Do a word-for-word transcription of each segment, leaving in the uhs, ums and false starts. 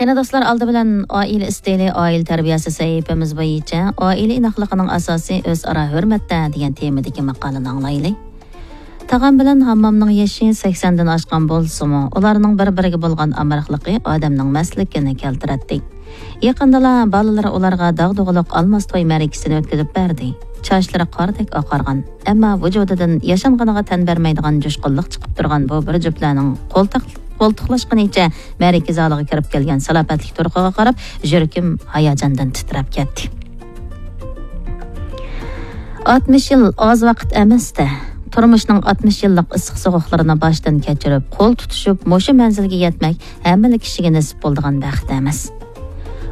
قېنى دوستلار، ئالدى بىلەن ئائىلە ئىستىلى، ئائىلە تەربىيەسى سەھىپىمىز بويىچە ئائىلە ئىناقلىقىنىڭ ئاساسى ئۆزئارا ھۆرمەتتە دېگەن تېمىدىكى ماقالىنى ئاڭلايلى. تاغام بىلەن ھاممامنىڭ يېشى سەكسەندىن ئاشقان بولسىمۇ، ئۇلارنىڭ بىر-بىرىگە بولغان ئامراقلىقى ئادەمنىڭ مەستلىكىنى كەلتۈرەتتى. يېقىندىلا بالىلىرى ئۇلارغا داغدۇغىلىق ئالماس توي مەرىكىسىنى ئۆتكۈزۈپ بەردى. چاچلىرى قاردەك ئاقارغان، ئەمما ۋۇجۇدىدىن ياشانغىنىغا تەن بەرمەيدىغان جۇشقۇنلۇق چىقىپ تۇرغان بۇ بىر جۈپلەرنىڭ قولتۇق-، قولتۇقلاشقىنىچە مەرىكە زالىغا كىرىپ كەلگەن سالاپەتلىك تۇرقىغا قاراپ، يۈرىكىم ھاياجاندىن تىترەپ كەتتى. ئاتمىش يىل ئاز ۋاقىت ئەمەس-دە. تۇرمۇشنىڭ ئاتمىش يىللىق ئىسسىق سوغۇقلىرىنى باشتىن كەچۈرۈپ، قول تۇتۇشۇپ، مۇشۇ مەنزىلگە يەتمەك ھەممىلا كىشىگە نېسىپ بولىدىغان بەخت ئەمەس.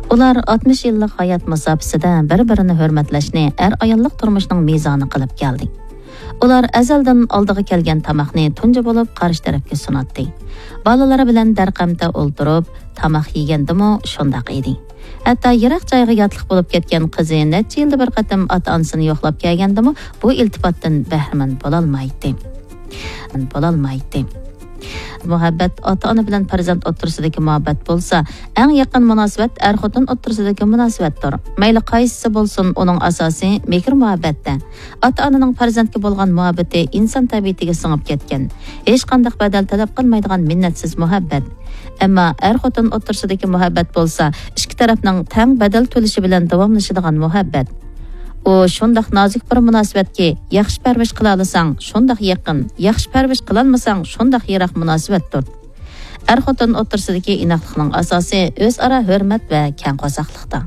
ئۇلار ئاتمىش يىللىق ھايات مۇساپىسىدە بىر-بىرىنى ھۆرمەتلەشنى ئەر-ئاياللىق تۇرمۇشنىڭ مىزانى قىلىپ كەلدى. ئۇلار ئەزەلدىن ئالدىغا كەلگەن تاماقنى تۇنجى بولۇپ قارشى تەرەپكە سۇناتتى. بالىلىرى بىلەن دەرقەمتە ئولتۇرۇپ، تاماق يېگەندىمۇ شۇنداق ئىدى. ھەتتا يىراق جايغا ياتلىق بولۇپ كەتكەن قىزى نەچچە يىلدا بىر قېتىم ئاتا-ئانىسىنى يوقلاپ كەلگەندىمۇ بۇ ئىلتىپاتتىن بەھرىمەن بولالمايتتى. بولالمايتتى. مۇھەببەت ئاتا-ئانا بىلەن پەرزەنت ئوتتۇرىسىدىكى مۇھەببەت بولسا، ئەڭ يېقىن مۇناسىۋەت ئەر-خوتۇن ئوتتۇرىسىدىكى مۇناسىۋەتتۇر. مەيلى قايسىسى بولسۇن، ئۇنىڭ ئاساسى مېھىر-مۇھەببەتتە. ئاتا-ئانىنىڭ پەرزەنتكە بولغان مۇھەببىتى ئىنسان تەبىئىتىگە سىڭىپ كەتكەن، ھېچقانداق بەدەل تەلەپ قىلمايدىغان مىننەتسىز مۇھەببەت. ئەمما ئەر-خوتۇن ئوتتۇرىسىدىكى مۇھەببەت بولسا، ئىككى تەرەپنىڭ تەڭ بەدەل تۆلىشى بىلەن داۋاملىشىدىغان مۇھەببەت. ئۇ شۇنداق نازۇك بىر مۇناسىۋەتكى، ياخشى پەرۋىش قىلالىساڭ، شۇنداق يېقىن، ياخشى پەرۋىش قىلالمىساڭ، شۇنداق يىراق مۇناسىۋەتتۇر. ئەر-خوتۇن ئوتتۇرىسىدىكى ئىناقلىقنىڭ ئاساسى ئۆزئارا ھۆرمەت ۋە كەڭ قورساقلىقتا.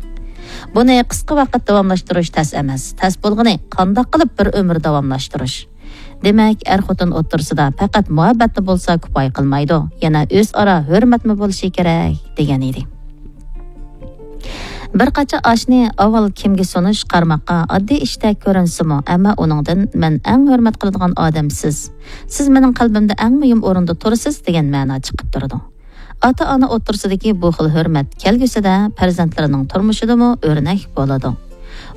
بۇنى قىسقا ۋاقىت داۋاملاشتۇرۇش تەس ئەمەس. تەس بولغىنى قانداق قىلىپ بىر ئۆمۈر داۋاملاشتۇرۇش؟ دېمەك، ئەر-خوتۇن ئوتتۇرىسىدا پەقەت مۇھەببەتلا بولسا كۇپايە قىلمايدۇ، يەنە ئۆزئارا ھۆرمەتمۇ بولۇشى كېرەك، دېگەن ئىدى. بىر قاچا ئاشنى ئاۋۋال كىمگە سۇنۇش قارىماققا ئاددىي ئىشتەك كۆرۈنسىمۇ، ئەمما ئۇنىڭدىن مەن ئەڭ ھۆرمەت قىلىدىغان ئادەم سىز. سىز مېنىڭ قەلبىمدە ئەڭ مۇھىم ئورۇندا تۇرىسىز دېگەن مەنا چىقىپ تۇرىدۇ. ئاتا-ئانا ئوتتۇرىسىدىكى بۇ خىل ھۆرمەت كەلگۈسىدە پەرزەنتلىرىنىڭ تۇرمۇشىدىمۇ ئۆرنەك بولىدۇ.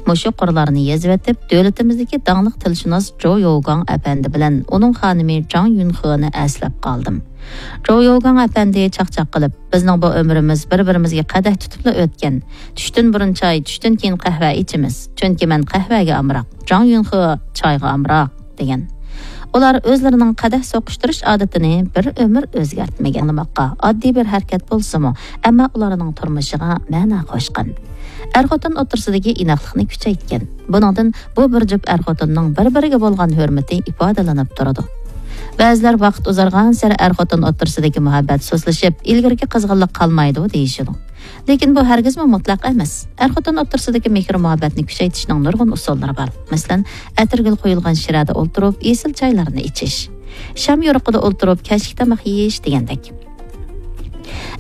مۇشۇ قۇرلارنى يېزىۋېتىپ، دۆلىتىمىزدىكى داڭلىق تىلشۇناس جو يوگاڭ ئەپەندى بىلەن ئۇنىڭ خانىمى جاڭ يۈنخېنى ئەسلەپ قالدىم. جو يوگاڭ ئەپەندى چاقچاق قىلىپ، بىزنىڭ بۇ ئۆمرىمىز بىر-بىرىمىزگە قەدەھ تۇتۇپلا ئۆتكەن. چۈشتىن بۇرۇن چاي، چۈشتىن كېيىن قەھۋە ئىچىمىز. چۈنكى مەن قەھۋەگە ئامراق، جاڭ يۈنخې چايغا ئامراق، دېگەن. ئۇلار ئۆزلىرىنىڭ قەدەھ سوقۇشتۇرۇش ئادىتىنى بىر ئۆمۈر ئۆزگەرتمىگەن. ئاڭلىماققا ئاددىي بىر ھەرىكەت بولسىمۇ، ئەمما ئۇلارنىڭ تۇرمۇشىغا مەنە قوشقان. ئەر-خوتۇن ئوتتۇرىسىدىكى ئىناقلىقنى كۈچەيتكەن. بۇنىڭدىن بۇ بىر جۈپ ئەر-خوتۇننىڭ بىر-بىرىگە بولغان ھۆرمىتى ئىپادىلىنىپ تۇرىدۇ. بەزىلەر ۋاقىت ئۇزارغانسېرى ئەر-خوتۇن ئوتتۇرىسىدىكى مۇھەببەت سۇسلىشىپ، ئىلگىرىكى قىزغىنلىق قالمايدۇ دېيىشىدۇ. لېكىن بۇ ھەرگىزمۇ مۇتلەق ئەمەس. ئەر-خوتۇن ئوتتۇرىسىدىكى مېھىر-مۇھەببەتنى كۈچەيتىشنىڭ نۇرغۇن ئۇسۇللىرى بار. مەسىلەن، ئەتىرگۈل قويۇلغان شىرەدە ئولتۇرۇپ، ئېسىل چايلارنى ئىچىش. شام يورۇقىدا ئولتۇرۇپ، كەچلىك تاماق يېيىش دېگەندەك.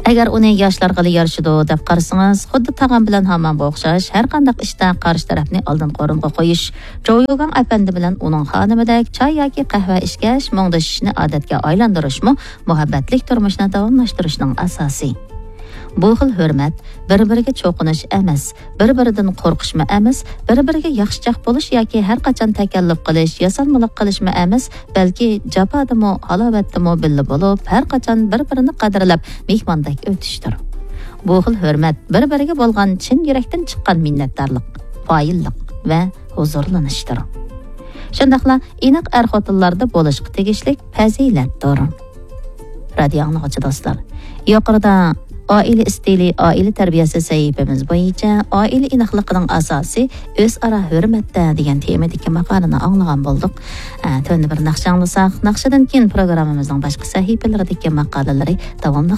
ئەگەر ئۇنى ياشلارغىلا يارىشىدۇ دەپ قارىسىڭىز، خۇددى تاغام بىلەن ھاممامغا ئوخشاش، ھەر قانداق ئىشتا قارشى تەرەپنى ئالدىنقى ئورۇنغا قويۇش، جوۋيۇگاڭ ئەپەندى بىلەن ئۇنىڭ خانىمىدەك چاي ياكى قەھۋە ئىچكەچ مۇڭدىشىشنى ئادەتكە ئايلاندۇرۇشمۇ مۇھەببەتلىك تۇرمۇشنى داۋاملاشتۇرۇشنىڭ ئاساسى. بۇ خىل ھۆرمەت بىر-بىرىگە چوقۇنۇش ئەمەس، بىر-بىرىدىن قورقۇشمۇ ئەمەس، بىر-بىرىگە ياخشىچاق بولۇش ياكى ھەر قاچان تەكەللۇپ قىلىش، ياسانمىلىق قىلىشمۇ ئەمەس، بەلكى جاپادىمۇ، ھالاۋەتتىمۇ بىللە بولۇپ، ھەر قاچان بىر-بىرىنى قەدىرلەپ، مېھماندەك ئۆتۈشتۇر. بۇ خىل ھۆرمەت بىر-بىرىگە بولغان چىن يۈرەكتىن چىققان مىننەتدارلىق، قايىللىق ۋە ھۇزۇرلىنىشتۇر. شۇنداقلا ئىناق ئەر-خوتۇنلاردا بولۇشقا تېگىشلىك پەزىلەتتۇر. رادىيو ئاڭلىغۇچى دوستلار، يۇقىرىدا ئائىلە ئىستىلى، ئائىلە تەربىيەسى سەھىپىمىز بويىچە ئائىلە ئىناقلىقىنىڭ ئاساسى ئۆزئارا ھۆرمەتتە دېگەن تېمىدىكى ماقالىنى ئاڭلىغان بولدۇق. ئە، تۆۋەندە بىر ناخشا ئاڭلىساق، ناخشىدىن كېيىن پروگراممىمىزنىڭ باشقا سەھىپىلىرىدىكى ماقالىلىرى داۋاملىق